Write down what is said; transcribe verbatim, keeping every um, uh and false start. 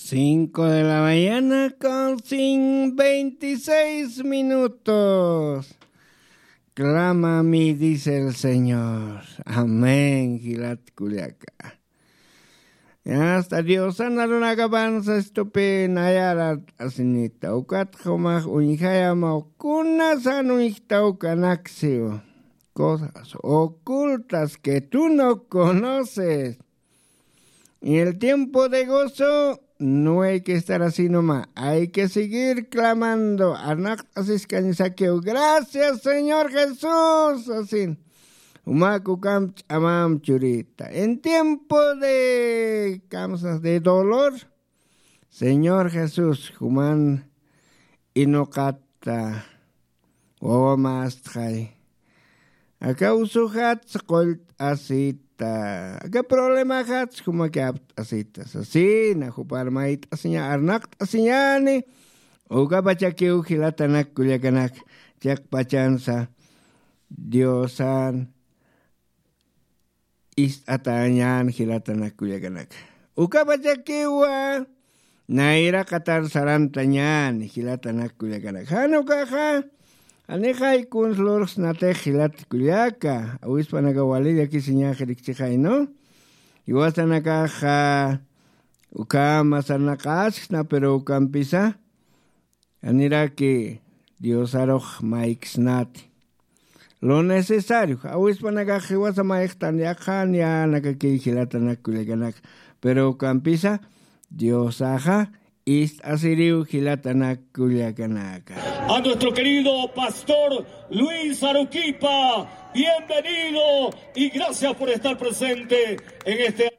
Cinco de la mañana con cin-, veintiséis minutos. Clama a mí, dice el Señor. Amén, jilat kullaka. Hasta Diosan arunakapansa estupi nayarat asinita. Ukat jumax uñjayama kunasan uñjtawkanaksiw. Cosas ocultas que tú no conoces. En el tiempo de gozo no hay que estar así nomás. Hay que seguir clamando. Arnaqt'asiskañasakiw. Gracias, Señor Jesús. Asin. Jumax ukamp ch'amamp churita. En tiempo de, kamsas, de dolor, Señor Jesús, juman inuqata wawamastxay. Aka usujats qullt'asita. Aka problemaxats jumakiw apt'asita. Sasina, jupar mayt'asiña, arnaqt'asiñani. Ukapachakiw jilatanak kullakanak. Chiqpachansa Diosan ist'atañän jilatanak kullakanaka. Ukapachakiwa nayraqatar sarantañän jilatanak kullakanaka. Jan ukaxa, janixay kuns lurxsnatix jilat kullaka, awispanaka wali llakisiñax rikchixay, ¿no? Jiwasanakaxa ukhama sarnaqasksna, pero ukampisa, janiraki Diosarux mayksnati. Lo necesario, awispanakax jiwasa mayxtan yaqhan yänakakiy jilatanak kullakanaka. Pero ukampisa Diosaxa ist'asiriw jilatanak kullakanaka. A nuestro querido pastor Luis Aruquipa, bienvenido y gracias por estar presente en este